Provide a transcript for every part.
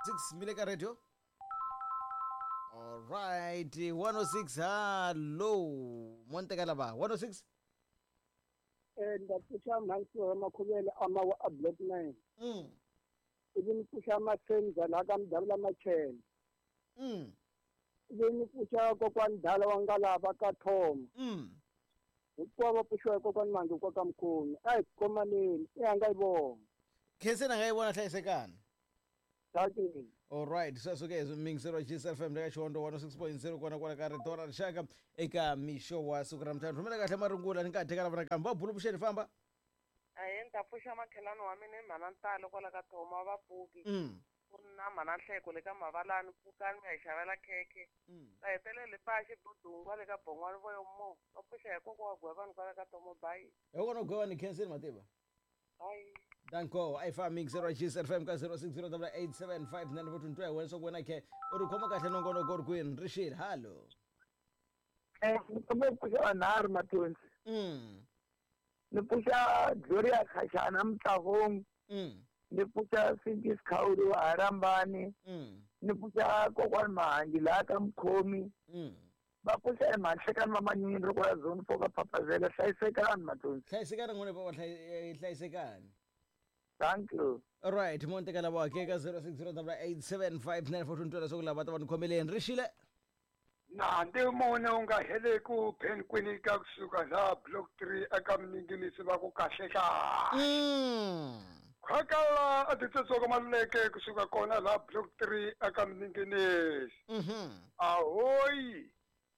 6 mi le ka radio. Alright, 106 hallo. Monteka lava 106. Ni ta pfuxa mhansi Makhuvele amawa a block 9. Ivi ni pfuxa Masenza laha ka Mudavula Machele. Ivi ni pfuxa kokwani Dala wa Ngalava ka Thoma. Hinkwavo va pfuxiwa hi kokwani Mangi kwa ka Mkhomi. A hi khomaneni, i a nga yi vona. Khenseni a nga yi vona hlayisekani. Dankie. Alright, sweswo ke mingiselo wa GSL FM eka Xihondzo 106.0 kona kwala ka rito ra rixaka eka mixo wa siku ra mutano. Rhumela kahle marungula ni nga ha teka lava nakambe. Va bulu vuxeni famba. Ahee, ni ta pfuxa makhelwani wa mina i mhana Ntalo kwala ka Thoma va pfuki. Ku na mhana Nhleko le ka Mavalani pfukani mi ya hi xavela khekhe. Ta hetelela hi pfa xidudungwa le ka Bongwani voyo mo. Va pfuxa hi kokwa wa Gwevani kwala ka Thoma bye. Hi kona Gwevani Khenseni Mativa. Bye. Danko, a yi fa mixer wa GSL FM ka 0608875942 hi wena swa ku wena khe u ri khoma kahle nongonoko ri kwini ri xile hallo. Ni kombela ku pfuxa vanharhu Mathonsi. Ni pfuxa Gloria Khashana Mutlavong. Ni pfuxa Singis Khawuri wa Harambani. Ni pfuxa kokwani Mahangi laha ka Mkhomi. Va pfuxa hi Mhanhlekani va Manyunyu ri kwala zone 4 ka Phapazela. Hlayisekani Mathonsi. Hlayisekani n'wina bava hlayisekani. Thank you. Alright, mo nteka lava ke ka 0608875942 ntwela swa ku lava ta va ni khomeleni ri xile. Na ndi mune u nga heleku Ben Kwinika kusuka laha block 3 eka Mninginisi va ku kahle kahle. Khwakala a titsotsoka Maluleke kusuka kona laha block 3 eka Mninginisi. Ahoy!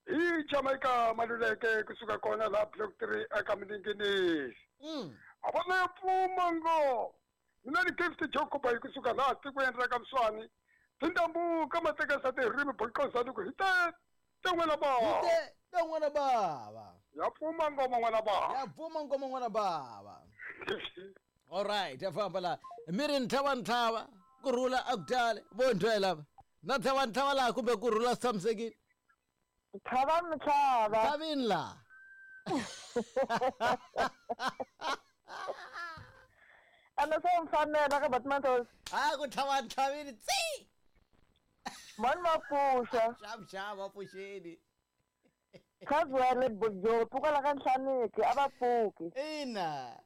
Hi Jamaica Maluleke kusuka kona laha block 3 eka Mninginisi. A va na pfuma ngo. Mina ni Gift Jacob hi kusuka laha tikweni ra ka Mswani. Tindambuka matekesa tirimi boqosa ku hi te te n'wana bava. Hi te n'wana bava. Ya pfuma ngoma n'wana bava. Ya pfuma ngoma n'wana bava. Alright, ya famba la. Mi ri ntlhava ntlhava ku rhula a ku tali vo ntwela lava. Na ntlhava ntlhava laha kumbe ku rhula swi tshamisekile. Ntlhava ntlhava. Ntlhavini laha. Ana swa mfanela ka Batmantos. A ku tlhava ntlhavini tsi. Mani ma pfuxa. Xavu xavu a pfuxeni. Khazwele Bojopi kwala ka Nhlaniki a va pfuki. Ina.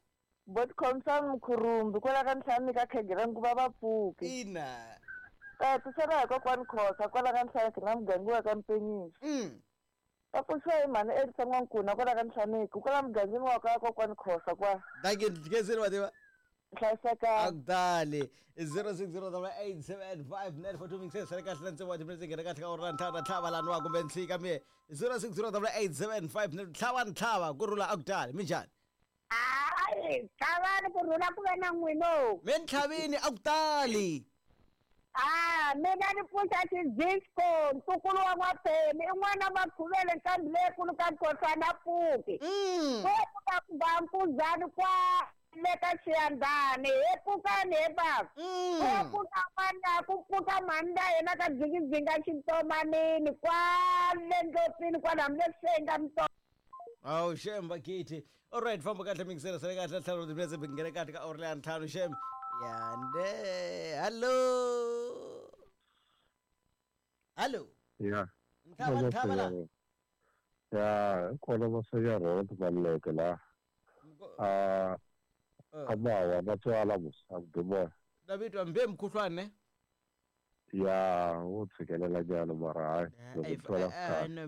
Bot Khomsani Mkhurumbi kwala ka Nhlaniki a khegela nguva va pfuki. Ina. Ta tisela hi kokwani Khosa kwala ka Nhlaniki na muganga wa ka Mpenyisi. Va pfuxiwa hi mhani Elisa N'wankuna kwala ka Nhlaniki kwala mugangeni wa ka kokwani Khosa kwa. Dankie Khenseni Mativa. Hlayisekani. A ku tali 0608875942 mingiseni sale kahle na ntsevu wa timinetse nghena kahle ka ora ntlhanu na ntlhava laniwa kumbe nhlika mi 06088759 ntlhava ntlhava ku rhula a ku tali minjhani? Hayi, tlhavani ku rhula ku ve na n'wino. Me ntlhavini a ku tali. Ah, mina ni pfuxa xidisco, ntukulu wa N'waphemi, i n'wana Makhuvele nqambi leyikulu ka Nkhosana Pfuki. Ko pfuka ku ba nkuzani kwa le ka Xiyandhani, he pfukani he bava. Ko pfuka n'wana, ku pfuka mhani la yena ka dzingidzinga xintomanini, kwale ndlopfini kwala hambi le senga mito. Awu shem bakithi. Alright, famba kahle mingisela sale kahle ntlhanu timinetse nghena kahle ka ora leya ntlhanu shem. Yande. Hallo. Hallo. Ya. Ntlhava ntlhava la. Ya, kona Masenya Road Maluleke la. Ah, amawa vatswala mos a ku bi moya. Davitwa mbe mkhuhlwane ne? Ya, wo tshikelela nyana mara hayi loko twala kahle. No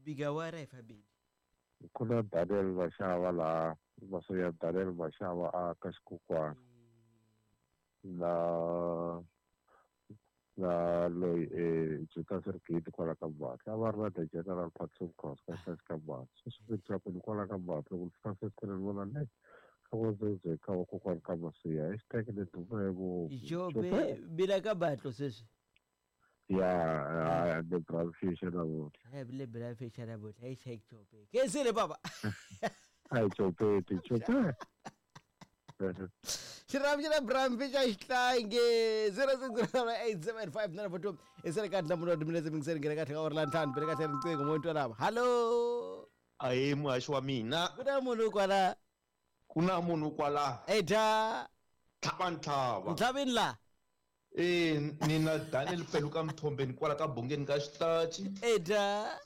bigawara hi fabeli. Ku na Daniel Mashava laha Masenya Daniel Mashava a ka xikukwana. Na na loyi Juta Sergate kwala ka Mbatla. A va ri na the General Patson Cross ka xihlahla ka Mbatla. Sweswi ni twa ku ni kwala ka Mbatla loko ni fika fesitileni ni vona le ka vo ka vakokwani ka Masiya. Hashtag ni dume ngopfu. Jobe bila ka batlo sweswi. Ya, the brown fish na vona. Le brown fish na vona. Hashtag Jobe. Kensile baba. Ai Jobe, Jobe. Xirhambo xa brown fish a xi tlangi 06087594 i sele kahle nhlamulo timinetse mingiseni nghena kahle ka ora la ntlhanu bele kahle riqingho mo twa lava. Hallo. Ahe muhaxi wa mina. Ku na munhu kwala. Ku na munhu kwala. Eta. Tlhava ntlhava. Ntlhavini la. Ni na Daniel Peluka Mthombeni kwala ka Bongeni ka Xitachi. Eda.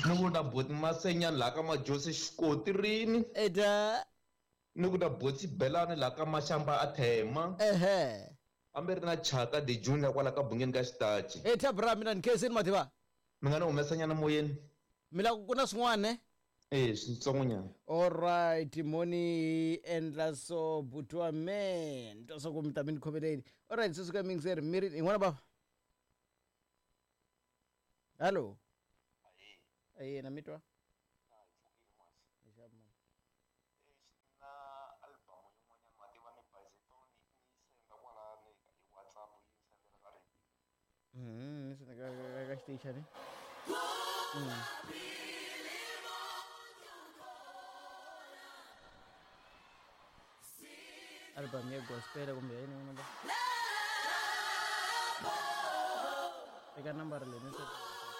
Ni ku na Boti Masenyani laha ka Majosi Xikotirini. Eda. Ni ku na Boti Belani laha ka Mashamba a Thema. Ehe. Ambe ri na Chaka de Junior kwala ka Bongeni ka Xitachi. Eta bra mina ni khensini mativa. Mi nga ni humesanyana moyeni. Mi la ku na swin'wana ne? Switsongonyana. Alright, moni endla so buti wa me ni twa swa ku mi ta mi ni khomeleni. Alright, sweswi ka mingiseri mi ri yin'wana bava. Hallo. Aye, na mi twa. Ni senda ka xitichani. Album ya gospel kumbe ya yini n'wana ba? Eka nambara leyi ni.